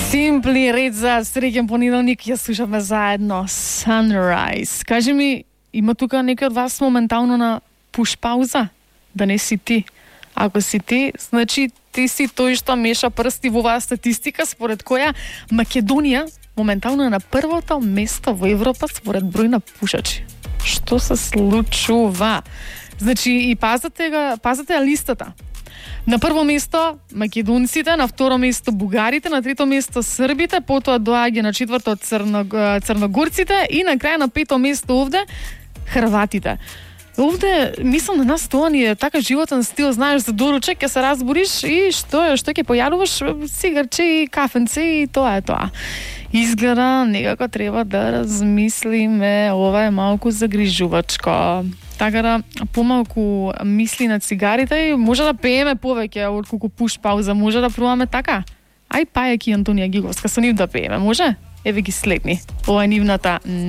Simply Red за среќен понеделник, ја слушаме заедно Sunrise. Кажи ми, има тука некој од вас моментално на пуш пауза? Да не си ти. Ако си ти, значи ти си тој што меша прсти во оваа статистика според која Македонија моментално е на првото место во Европа според број на пушачи. Што се случува? Значи и пазете ја листата. На прво место македонците, на второ место бугарите, на трето место србите, потоа доаѓа на четврто црногорците и на крај на пето место овде хрватите. Овде, мислам, на нас тоа ни е така животен стил, знаеш, за доручек ќе се разбориш и што ќе појадуваш, сигарче и кафенце и тоа е тоа. Изгледа некако треба да размислиме, ова е малку загрижувачко. Така да помалку мисли на цигарите и може да пееме повеќе отколку пуш пауза, може да пробаме така. Ај Пајак и Антонија Гиговска со нив да пееме, може? Еве ги следни. Ова е нивната